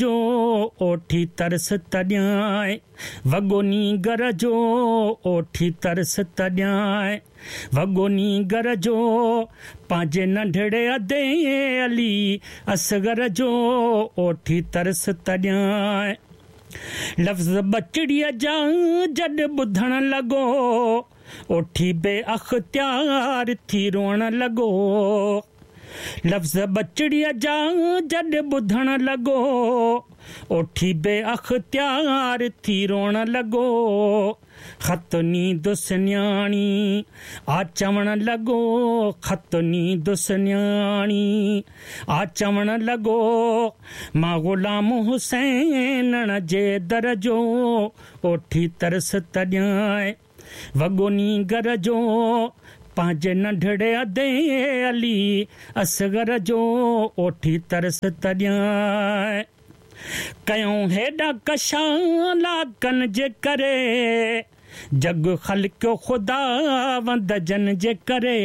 جو اوٺي ترس ته ڏيانء، وڳو نينگر جو اوٺي ترس ته ڏيانء، وڳو نينگر جو پنهنجي ننڍڙي ادي علي اصغر جو اوٺي ترس ته ڏيانء. لفظ ٻچڙيء جا جڏ ٻڌڻ لڳو، اوٺي بي اختيار ٿي روئڻ لڳو. لفظ ٻچڙيء جا جڏ ٻڌڻ لڳو، اوٺي بي اختيار ٿي روئڻ لڳو. خط نيندس نياڻي آ چوڻ لڳو، خط نيندس نياڻي آ چوڻ لڳو، مان غلام حسينڻ جي در جو اوٺي ترس ته ڏيانء. وڳو نينگر جو پنهنجي ننڍڙي ادي علي اصغر جو اوٺي ترس ته ڏيانء. ڪيائون هيڏا ڪشالا ڪن جي ڪري، جڳ خلقيو خداوند جن جي ڪري.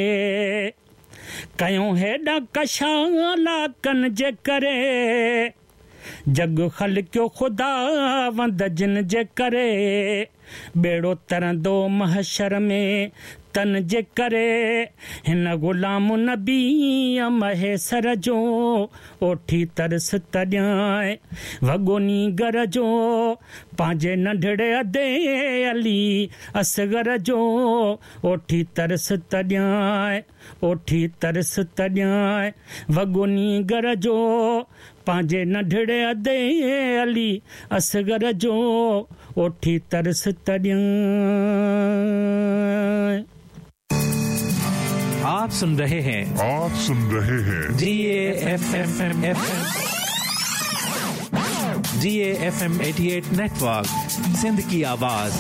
ڪيائون هيڏا ڪشالا ڪن جي ڪري، جڳ خلقيو خداوند جن جي ڪري، ٻيڙو ترندو محشر ۾ تن جي ڪري، هن غلام نبيء مهيسر جو اوٺي ترس ته ڏيانء، وڳو نينگر جو پنهنجي ننڍڙي ادي علي اصغر جو اوٺي ترس ته ڏيانء، اوٺي ترس ته ڏيانء، وڳو نينگر جو پنهنجي ننڍڙي ادي علي اصغر جو اوٺي ترس ته ڏيانء. آپ سن رهي هين. آپ سن رهي هين. جي اي F M F G A F M 88 network Sindh ڪي آواز.